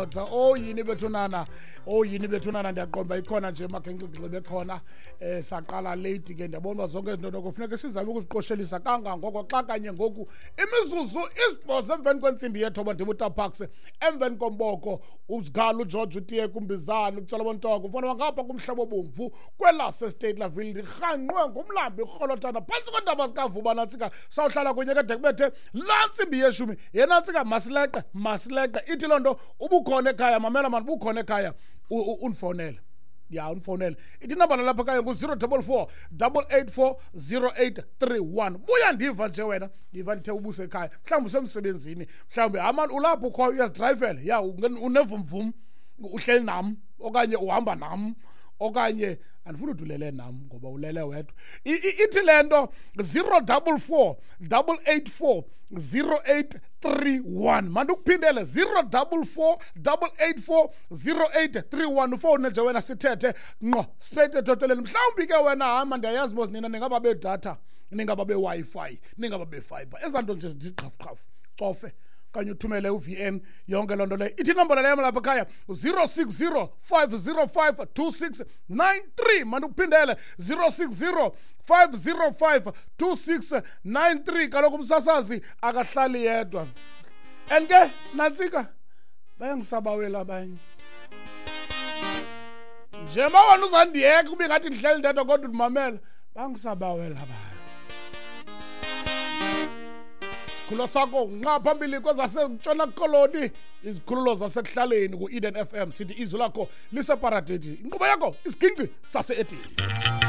madoda. Oh yini bethunana, oh yini bethunana, ndiyaqonda ikhona nje makhenxigxibe bekhona. Saqala late ke, ndiyabona uba zonke izinto noko funeka sizame ukuziqoshelisa kangangoko xa kanye ngoku imizuzu 8 emveni kwentsimbi yethoba. Ndimutaparks emveni komboko uzigala uGeorge utiye kumbizana utshala bontoko mfana wangapha kumhlaba obomvu kwelase State Laville, ndirhanqwe ngumlambi urholothana phantsi kweentaba zikaVuba. Nantsika sawuhlala kunye kade kubethe laa ntsimbi yeshumi. Yenantsika, masileqe, masileqe. Ithi loo nto ubukhona ekhaya, mamela mani, ubukhona ekhaya, undifowunele, ya, undifowunele. Ithi inambala lapha ekhaya ngu-044 884 0831. Buya ndiva nje wena, ndiva ndithe ubusekhaya, mhlawumbi usemsebenzini, mhlawumbi hamani ulapho ukhoyo uyazidrayivela, ya, unevumvum, uhleli nam okanye uhamba nam, okanye andifuni uthi ulele nam ngoba ulele wedwa. Ithi le nto 044 884 0831. Mandikuphindele, 044 884 0831. Ufowune nje wena sithethe ngqo straight ethoteleni. Mhlawumbi ke wena hama, ndiyayazi mos nina ningaba bedatha, ningaba be-Wi-Fi, ningaba be-fiber, ezaa nto nje ziqhafuqhafu, cofe okanye uthumele u-VN, yonke loo nto leyo. Ithi inombolo leyo lapha ekhaya 060 505 2693. Mandikuphindele, 060 505 2693. Kaloku umsasazi akahlali yedwa, and ke nantsika bayangisabawela abanye. Njengoba wena uzandiyeka kube ngathi ndihleli ndedwa kodwa undimamela, bangisabawela abanye. Isikhululo sakho nqa phambili kwezasentshona Koloni, izikhululo zasekuhlaleni ku-Eden FM, sithi izwi lakho liseparadesi, inkqubo yakho Isiginci Sase-Edeni.